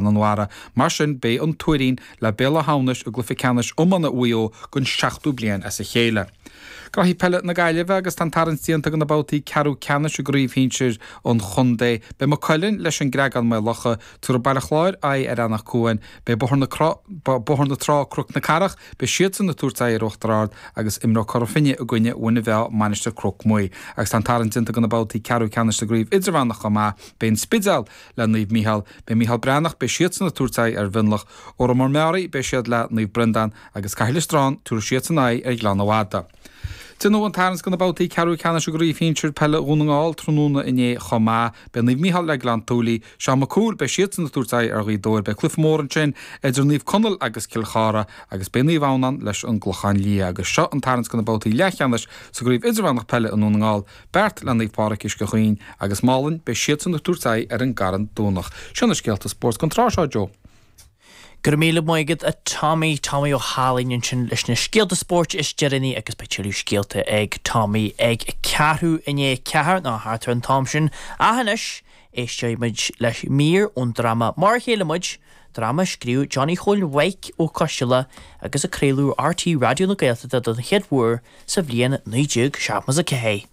An Bharra. Mar sin, beidh an Tuairín le Béal Átha hAmhnais i gcluiche ceannais iomána Mhaigh Eo don seachtú bliain as a chéile. Gnoithí peile na Gaillimhe agus tá an tarraingt déanta do na babhtaí ceathrú ceannais i gcraobh shinsir an chontae. Beidh Maigh Cuilinn leis an gCreagán Maigh Locha, tabharfaidh Baile Chláir aghaidh ar Eanach Cuain, beidh Bóthar na Bóthar na Trá Cnoc na Cathrach, beidh siadsan ag tabhairt aghaidh ar Uachtar Ard agus imreoidh Cora Finne i gcoinne Mhuine Mheá Mainistir Cnoc Muaidh. Agus tá an tarraingt déanta do na babhtaí ceathrú ceannais sa gcraobh idirmheánach chomh maith. Beidh An Spidéal le Naomh Mícheál. Beidh Micheál Breathnach, beidh siadsan ag tabhairt aghaidh ar Mhionlach. Órán Mór Meáraí, beidh siad le Naomh Breandán agus Cathal Stráin, tabharfaidh siadsan aghaidh ar Ghleann Fhada. Déanadh an tarraingt do na babhtaí ceathrú ceannais i gCraobh Shinsir Peile Dhún na nGall tráthnóna inné chomh maith. Beidh Naomh Mícheál le Gleann tSúilí, Seán Mac Cumhaill, beidh siadsan ag tabhairt aghaidh ar Ghaoth Dobhair. Beidh cluiche mór ansin idir Naomh Conaill agus Cill Chartha agus beidh Naomh Adhamhnáin leis an gClochán Liath. Agus seo an tarraingt do na babhtaí leathcheannais sa gCraobh Idirmheánach Peile i nDún na nGall. Beart le Naomh Pádraig Uisce Chaoin agus Málainn, beidh siadsan ag tabhairt aghaidh ar an gCarn Domhnach. Seo na scéalta spóirt don tráth seo, Joe. Go raibh míle maith agat a Tommy, Tommy Ó hAilín ansin leis na scéalta spóirt is deireanaí agus beidh tuilleadh scéalta ag Tommy ag ceathrú i ndiaidh a ceathair nó thart ar an t-am sin. Ach anois, éisteoidh muid le mír ón dráma Mar a Chéile Muid, dráma a scríobh Johnny Chóil Mhaidhc Ó Coistealbha agus a craoladh ar RTÉ Raidió na Gaeltachta don chéad uair sa bhliain 1974.